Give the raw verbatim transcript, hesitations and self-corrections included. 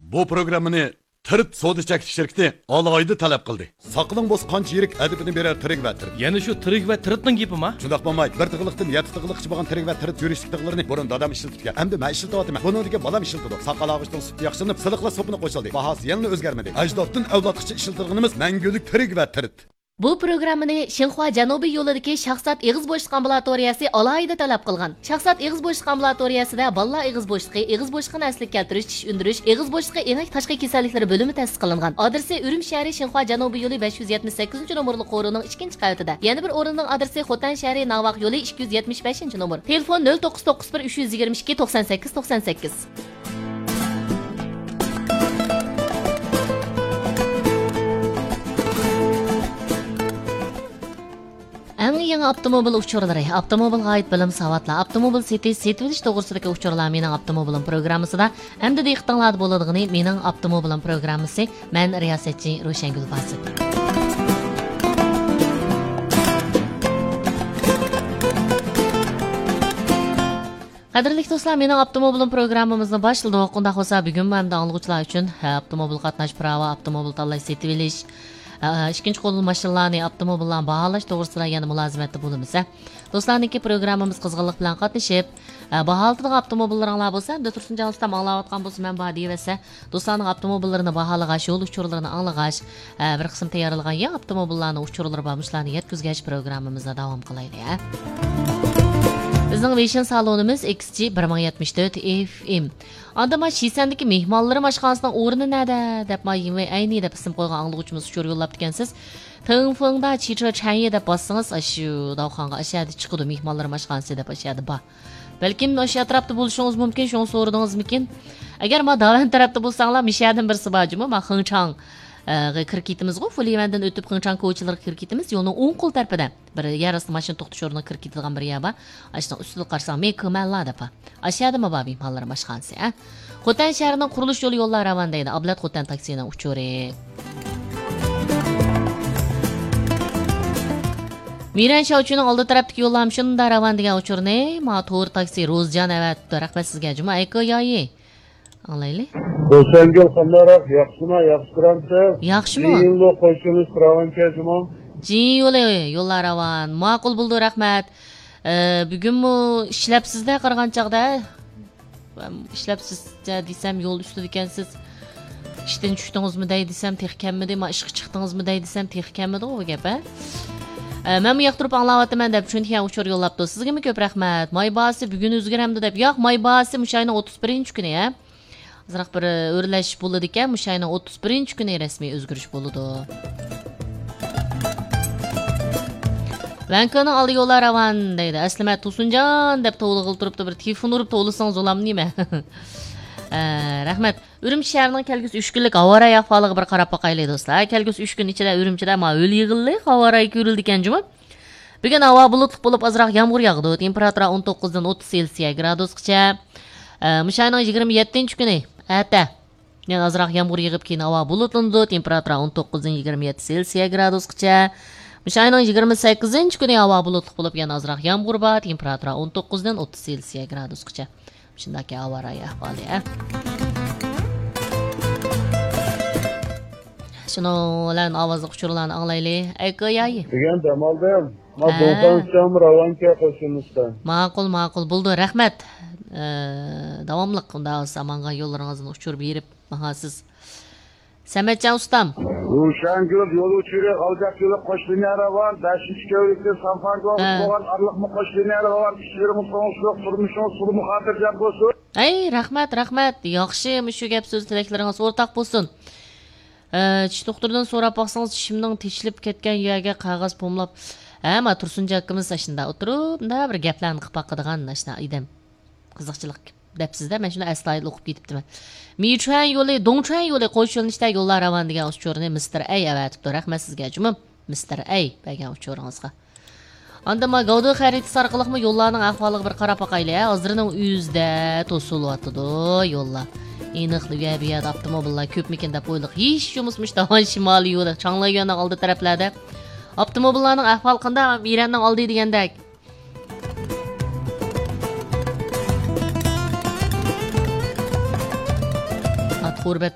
بۇ پروگراممىنى تىرىت سودا چەكلىك شىركىتى ئالاھىدە تەلەپ قىلدى. ساقىلىڭ بولسا قانچە يىرىك، ئەدىپىنى بېرەر تىرىك ۋە تىرىت. يەنە شۇ تىرىك ۋە تىرىتنىڭ گېپىما؟ شۇنداق بولماي، بىر تىغلىقتىن يەتتە تىغلىققىچە بولغان تىرىك ۋە تىرىت يۈرۈشلۈك تىغلىرىنى بۇرۇن دادام ئىشلىتىدىكەن، ئەمدى مەن ئىشلىتىۋاتىمەن. بۇنىڭدىن كېيىن بالام ئىشلىتىدۇ. ساقال ئاغۇچنىڭ سۈپىتى ياخشىلىنىپ، سىلىقلا سوپىنى قوشۇلدى. باھاسى يەنىلا ئۆزگەرمىدى. ئەجدادتىن ئەۋلادقىچە ئىشلىتىدىغىنىمىز مەڭگۈلۈك تىرىك ۋە تىرىت. بۇ پروگراممىنى شىنخۇا جەنۇبىي يولىدىكى شاھزات ئېغىز بوشلۇق ئامبۇلاتورىيەسى ئالاھىدە تەلەپ قىلغان. شاھزات ئېغىز بوشلۇق ئامبۇلاتورىيەسىدە بالىلار ئېغىز بوشلۇقى، ئېغىز بوشلۇقىنى ئەسلىگە كەلتۈرۈش، چىش ئۈندۈرۈش، ئېغىز بوشلۇقى ئېڭەك تاشقى كېسەللىكلىرى بۆلۈمى تەسىس قىلىنغان. ئادرېسى ئۈرۈمچى شەھىرى شىنخۇا جەنۇبىي يولى بەش يۈز يەتمىش سەككىزىنچى نومۇرلۇق قورۇنىڭ ئىككىنچى قەۋىتىدە. يەنە بىر ئورۇننىڭ ئادرېسى خوتەن شەھىرى ناۋاق يولى ئىككى يۈز يەتمىش بەشىنچى نومۇر. تېلېفون: نۆل توققۇز توققۇز بىر، ئۈچ يۈز يىگىرمە ئىككى، توقسان سەككىز، توقسان سەككىز. ئەڭ يېڭى ئاپتوموبىل ئۇچۇرلىرى، ئاپتوموبىلغا ئائىت بىلىم ساۋاتلار، ئاپتوموبىل سېتىش، سېتىۋېلىش توغرىسىدىكى ئۇچۇرلار مېنىڭ ئاپتوموبىلىم پروگراممىسىدا. ئەمدى دىققىتىڭلاردا بولىدىغىنى مېنىڭ ئاپتوموبىلىم پروگراممىسى. مەن رىياسەتچى روشەنگۈل باسىت. قەدىرلىك دوستلار، مېنىڭ ئاپتوموبىلىم پروگراممىمىزنى باشلىدۇق. ئۇنداق بولسا، بۈگۈنمۇ ھەمدە ئاڭلىغۇچىلار ئۈچۈن، ھە، ئاپتوموبىل قاتناش پىراۋا، ئاپتوموبىل تاللاش، سېتىۋېلىش، ئە، ئىككىنچى قول ماشىنىلارنى، ئاپتوموبىللارنى باھالاش توغرىسىدا يەنە مۇلازىمەتتە بولىمىز، ھە. دوستلارنىڭكى پروگراممىمىز قىزغىنلىق بىلەن قاتنىشىپ، ئە، باھالىتىدىغان ئاپتوموبىللىرىڭلار بولسا، ھەمدە تۇرسۇنجان ئۇستام ئاڭلاۋاتقان بولسا، مەن بار دېيىۋەتسە، دوستلارنىڭ ئاپتوموبىللىرىنى باھالىغاچ، يول ئۇچۇرلىرىنى ئاڭلىغاچ، ھە، بىر قىسىم تەييارلىغان يېڭى ئاپتوموبىللارنىڭ ئۇچۇرلىرى بار، مۇشۇلارنى يەتكۈزگەچ پروگراممىمىزنى داۋام قىلايلى، ھە. بىزنىڭ ۋېيشىن سالونىمىز ئېكس جى بىر مىڭ يەتمىش تۆت ئېف ئېم. ئاندا ما شىسەندىكى مېھمانلىرىم ئاشخانىسىنىڭ ئورنى نەدە دەپ، ما يىڭۋېي ئەينى دەپ ئىسىم قويغان ئاڭلىغۇچىمىز ئۇچۇر يوللاپتىكەنسىز. تىڭفېڭدا چىچې چەنيې دەپ باسسىڭىز، ئاشۇ داۋخانغا ئاشۇ يەردە چىقىدۇ، مېھمانلىرىم ئاشخانىسى دەپ ئاشۇ يەردە بار. بەلكىم ئاشۇ ئەتراپتا بولۇشىڭىز مۇمكىن، شۇڭا سورىدىڭىزمىكىن؟ ئەگەر ما داۋەن تەرەپتە بولساڭلار، مىشەدىن بىرسى بار جۇمۇ، ما خېڭچاڭ، ئە، غا كىرىپ كېتىمىزغۇ، فۇليىۋەندىن ئۆتۈپ خېڭچاڭ كوچىلىرىغا كىرىپ كېتىمىز، يولنىڭ ئوڭ قول تەرىپىدە بىر يەر ئاستى ماشىنا توختىتىش ئورنىغا كىرىپ كېتىدىغان بىر يەر بار. ئاشۇنىڭ ئۈستىدە قارىساڭ، مېكىمەنلا دەپ بار. ئاشۇ يەردىمۇ بار مېھمانلىرىم ئاشخانىسى، ھە؟ خوتەن شەھىرىنىڭ قۇرۇلۇش يولى يوللار راۋان دەيدۇ. ئابلەت خوتەن تاكسىنىڭ ئۇچۇرى. مىرەن شاۋچىنىڭ ئالدى تەرەپتىكى يوللار شۇنداق راۋان دېگەن ئۇچۇرنى ما تور تاكسى روزجان ئەۋەتىپتۇ. رەھمەت سىزگە، جۇما ئەيكو يايى. ئاڭلايلى. روشەنگۈل قانداقراق؟ ياخشىما؟ ياخشى تۇرامسىز؟ ياخشىمۇ؟ جىيىنلۇ قوشۇلۇش راۋانكەن جۇما؟ جىيىن يولى يوللار راۋان. ماقۇل بولدى، رەھمەت. ئە، بۈگۈنمۇ ئىشلەپسىز-دە قارىغان چاغدا. ئىشلەپسىز دېسەم، يول ئۈستىدىكەنسىز. ئىشتىن چۈشتىڭىزمۇ دەي دېسەم، تېخى كەلمىدى. ما ئىشقا چىقتىڭىزمۇ دەي دېسەم، تېخى كەلمىدىغۇ بۇ گەپ، ھە؟ ئە، مەنمۇ ياقتۇرۇپ ئاڭلاۋاتىمەن دەپ، چۈنكى ئۇچۇر يوللاپتۇ. سىزگىمۇ كۆپ رەھمەت. ماي باھاسى بۈگۈن ئۆزگىرەمدۇ دەپ. ياق، ماي باھاسى مۇشۇ ئاينىڭ ئوتتۇز بىرىنچى كۈنى، ھە؟ ئازراق بىر ئۆرلەش بولىدىكەن، مۇشۇ ئاينىڭ ئوتتۇز بىرىنچى كۈنى رەسمىي ئۆزگىرىش بولىدۇ. ۋەنكۆنىڭ ئالدى يوللار راۋان دەيدۇ. ئەسلىمە تۇسۇنجان دەپ توۋلىغىلى تۇرۇپتۇ، بىر تېلېفون ئۇرۇپ توۋلىسىڭىز بولامدۇ نېمە؟ ئە، رەھمەت. ئۈرۈمچى شەھىرىنىڭ كەلگۈسى ئۈچ كۈنلۈك ھاۋا رايى ئەھۋالىغا بىر قاراپ باقايلى، دوستلار. كەلگۈسى ئۈچ كۈن ئىچىدە ئۈرۈمچىدە ما ھۆل يىغىلدى، ھاۋا رايى كۆرۈلىدىكەن جۇمۇ. بۈگۈن ھاۋا بۇلۇتلۇق بولۇپ، ئازراق يامغۇر ياغىدۇ. تېمپېراتۇرا ئون توققۇزدىن ئوتتۇز سېلسىيە گرادۇسقىچە. ئە، مۇشۇ ئاينىڭ يىگىرمە يەتتىنچى كۈنى، ئەتە، يەنە ئازراق يامغۇر يېغىپ، كېيىن ھاۋا بۇلۇتلىنىدۇ. تېمپېراتۇرا ئون توققۇزدىن يىگىرمە يەتتە سېلسىيە گرادۇسقىچە. مۇشۇ ئاينىڭ يىگىرمە سەككىزىنچى كۈنى ھاۋا بۇلۇتلۇق بولۇپ، يەنە ئازراق يامغۇر بار. تېمپېراتۇرا ئون توققۇزدىن ئوتتۇز سېلسىيە گرادۇسقىچە. شۇنداكى ھاۋا رايى ئەھۋالى، ھە؟ شۇنىڭ بىلەن ئاۋازلىق ئۇچۇرلارنى ئاڭلايلى. ئەيكۆ يايى. دېگەن دەم ئالدىم. ما ھە. دوڭسان سىچاڭمۇ راۋانكە قوشۇلمىستا. ماقۇل، ماقۇل. بولدى، رەھمەت. ئە، داۋاملىق ئۇنداق بولسا ماڭا يوللىرىڭىزنى ئۇچۇر بېرىپ ماڭاسىز. سەمەتجان ئۇستام. روشەنگۈل يول ئۇچۇرى غالجاق يولى قوش لىنىيە راۋان، بەشىنچى كۆۋرۈكتىن سانفاندۇغا ھە. بولغان ئارىلىقمۇ قوش لىنىيە راۋان، ئىچكىرىمۇ سوڭۇشلۇق، تۇرمۇشىڭىز تولىمۇ خاتىرجەم بولسۇن. ئەي، رەھمەت، رەھمەت. ياخشى، مۇشۇ گەپ سۆز تىلەكلىرىڭىز ئورتاق بولسۇن. ئە، چىش دوختۇرىدىن سوراپ باقسىڭىز، چىشىمنىڭ تېشىلىپ كەتكەن يەرگە قەغەز پوملاپ، ھە، ما تۇرسۇنجان ئاكىمىز ئاشۇنداق ئولتۇرۇپ، مۇنداق بىر گەپلەرنى قىلىپ باقىدىغان ئاشۇنداق ئادەم. قىزىقچىلىق دەپسىزدە، مەن شۇنداق ئەستايىدىل ئوقۇپ كېتىپتىمەن. مىچۈەن يولى، دۇڭچۈەن يولى قوش يۆنىلىشتە يوللار راۋان دېگەن ئۇچۇرنى مىستېر ئەي ئەۋەتىپتۇ. رەھمەت سىزگە جۇمۇ، مىستېر ئەي بەرگەن ئۇچۇرىڭىزغا. ئاندىن ما گاۋدې خەرىتىسى ئارقىلىقمۇ يوللارنىڭ ئەھۋالىغا بىر قاراپ باقايلى، ھە؟ ھازىرنىڭ ئۆزىدە توسۇلۇۋاتىدۇ يوللار. ئېنىقلا ئۇ يەر، بۇ يەردە ئاپتوموبىللار كۆپمىكىن دەپ ئويلىغان. ھېچ بولمىسا مۇشۇ داۋان شىمالىي يولى، چاڭلاييۈەننىڭ ئالدى تەرەپلەردە ئاپتوموبىللارنىڭ ئەھۋالى قانداق؟ مىرەننىڭ ئالدى دېگەندەك. ئات غۇربەت